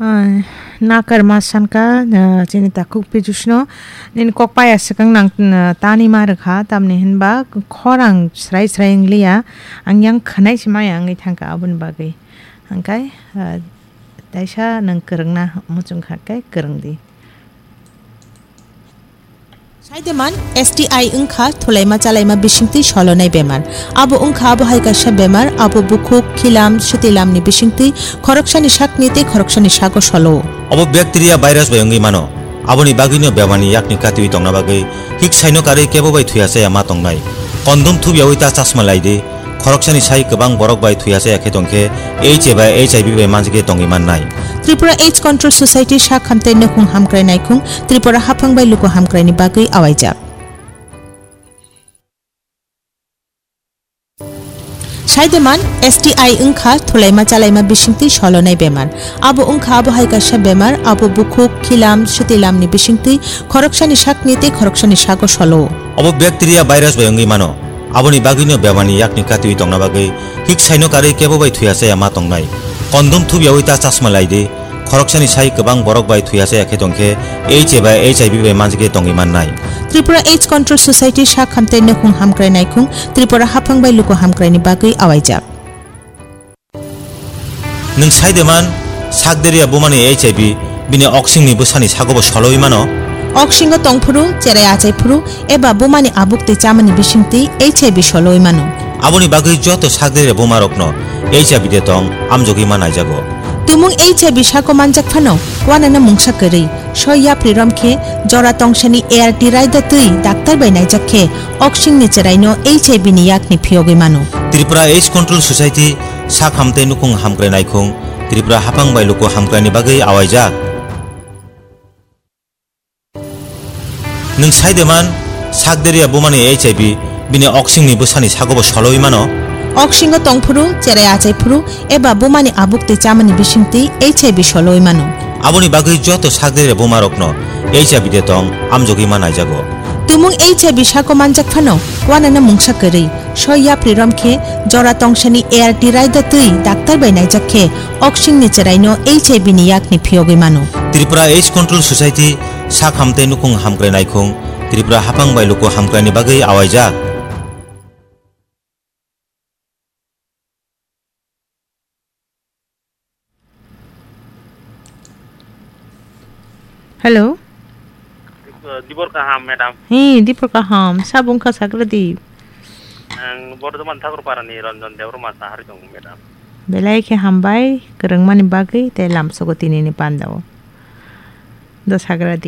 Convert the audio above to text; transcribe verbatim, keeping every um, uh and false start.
Ah, nakarma sanka, ah, chini takhuk pijusno, nini kok paya swkang nang, ah, tani ma rwkha, tamni hinba khorang srai srai wngliya, ang yang khwnai se maya wngwi thangkha aboni bagwi. Hangkai, ah, taisa nwng kwrwngna muchungkha khe kwrwngdi. Saideman, S T I wngkha thulaima chalaima bisingtwi solonai bemar. Abo wngkha abo hai kaisa bemar, abo bukhuk, khilam, sutilamni bisingtwi khoroksani sakni tei khoroksani sago solo. Obo bacteria virus bai wngwi mano. Aboni bagwino bemarni yakni katiwi tongna bagwi hik saino karwi kebo bai thuya chaya ma tongnai. Kondom thubyawi ta chasma lai di. Khoroksani sai kwbang borok bai thuya chaya khe tongkhe H A bai H I V bai manjagwi tongwi mannai. Tripura AIDS Control Society sak hamtei nukhung hamkrai naikhung Tripura haphang bai luku hamkraini bagwi awaijak. Saideman, S T I wngkha thulaima chalaima bisingtwi solonai bemar. Abo wngkha abo hai kaisa bemar, abo bukhuk, khilam, sutilamni bisingtwi khoroksani sakni tei khoroksani sago solo. Obo bacteria virus bai wngwi mano. Aboni bagwino bemarni yakni katiwi tongna bagwi hik saino karwi kebo bai thuya chaya ma tongnai. Kondom thubyawi ta chasma lai di. Khoroksani sai kwbang borok bai thuya chaya khe tongkhe H A bai H I V bai manjagwi tongwi mannai. Tripura AIDS Control Society sak hamtei nukhung hamkrai naikhung Tripura haphang bai luku hamkraini bagwi awaijak. Nwng saideman, sakderia bumani H I V bini oksingni bwsani sagobo solowi mano. Oksingo tongphuru, cherai achaiphuru, eba bumani abuk tei chamani bisingtwi H I V solowi mano. Aboni bagwi joto sakderia bumarokno H I V de tong amjogwi ma naijago. Tumung H I V sako manjak phano, wanano mungsa kwrwi, soi yapri rom khe, jora tongsani A R T raida twi daktar bai naijak khe, oksingni cheraino H I V ni yakni phiyogwi mano. Tripura AIDS Control Society sak hamtei nukhung hamkrai naikhung Tripura haphang bai luku hamkraini bagwi awaijak. Nwng saideman, sakderia bumani H I V bini oksingni bwsani sagobo solowi mano. Oksingo tongphuru, cherai achaiphuru, eba bumani abuk tei chamani bisingtwi H I V solowi mano. Aboni bagwi joto sakderia bumarokno H I V de tong amjogwi ma naijago. Tumung H I V sako manjak phano, wanano mungsa kwrwi, soi yapri rom khe, jora tongsani A R T raida twi daktar bai naijak khe, oksingni cheraino H I V ni yakni phiyogwi mano. Tripura AIDS Control Society sak hamtei nukhung hamkrai naikhung Tripura haphang bai luku hamkraini bagwi awaijak. Hello. Dibor kaham, madam. Hi, dibor kaham. Sabung ka sakra di. Ang Bordhoman Thakurpara ni Ranjan Debbarma sahari dong, madam. Belai khe hambai, kwrwngmani bagwi tei lamsogo tinini pandao. Do sakra di.